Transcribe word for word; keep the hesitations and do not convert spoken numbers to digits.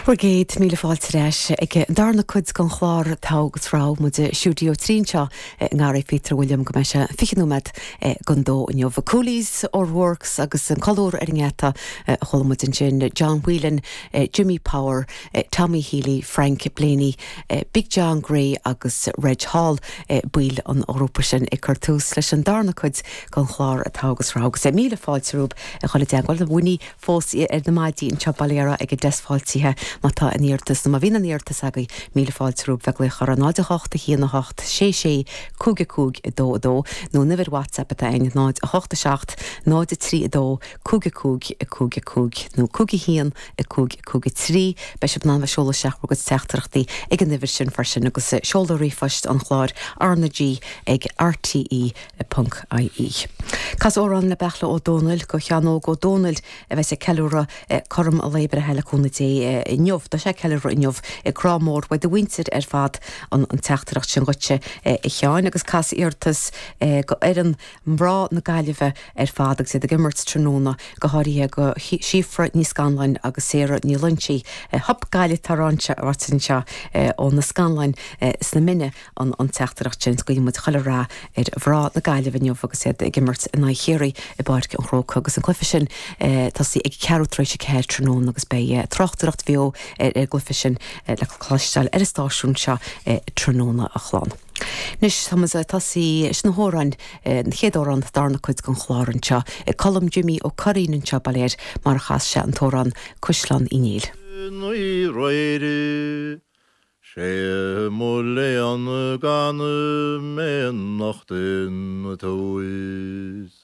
Bhur gcéad míle fáilte ar ais ag an darna cuid den chlár Togha agus Rogha muid i stiúideo trí anseo i nGarraí Phíotair William go mbeidh sé fiche nóiméad don dó inniu. Coolies O'Rourke's agus an colúr ar an ngeata a chuala muid ansin John Whelan, Jimmy Power, Tommy Healy, Frank Blaney, Big John Gray agus Reg Hall baill an ghrúpa sin ag cur tús leis an darna cuid den chlár Togha agus Rogha agus míle fáilte romhaibh a dhul i dteagmháil Winnie fós ar na maidí anseo bail ó Dhia ag an deasc fáiltithe má tá aon iarratas nó má bhíonn aon iarratas agaibh míle fáilte romhaibh bheith ag glaoch ar náid a hocht a haon a hocht sé sé cúig a cúig a dó a dó nó an uimhir WhatsApp atá ann náid a hocht a seacht náid a trí a dó cúig a cúig a cúig a cúig nó cúig a haon a cúig cúig a trí beidh sibh in ann seoladh isteach bhur gcuid teachtaireachtaí ag an uimhir sin freisin agus seoladh ríomhphoist an chláir R na G ag RTE ponc IE. Cas amhrán le Beachla Ó Dónaill go Sheán Óg Ó Dónaill a bheas ag ceiliúradh cothrom a lae breithe le cúnamh Dé inniu Tá sé ceiliúradh inniu ag grá mór uaidh a mhuintir ar fad an an teachtaireacht sin dhuitse a Sheáin agus cas iarratas go fhoireann mná na Gaillimhe ar fad agus iad ag imirt tráthnóna go háirithe go Síofra Ní Scanláin agus Sarah Ní Loinsigh Hup Gaillimh tá ráite anseo ó na Scanláin sna Mine an an teachtaireacht sin guíonn muid chuile rath ar mhná na Gaillimhe inniu agus iad ag imirt in aghaidh Chiarraí i bPáirc an Chrócaigh agus an cluiche sin tosaí ag ceathrú tar éis a ceathair tráthnóna agus beidh tráchtaireacht bheo ar an gcluiche sin le cloisteáil ar an stáisiún seo tráthnóna a chlán. Anois tá tosaí sna hamhráin an chéad amhrán darna cuid den chlár anseo Colm Jimmy Ó Curraoin anseo bail air mar a chas sé an t-amhrán Caisleán Uí Néill. Ní réire sé mo léan gan mé nachtain tuis.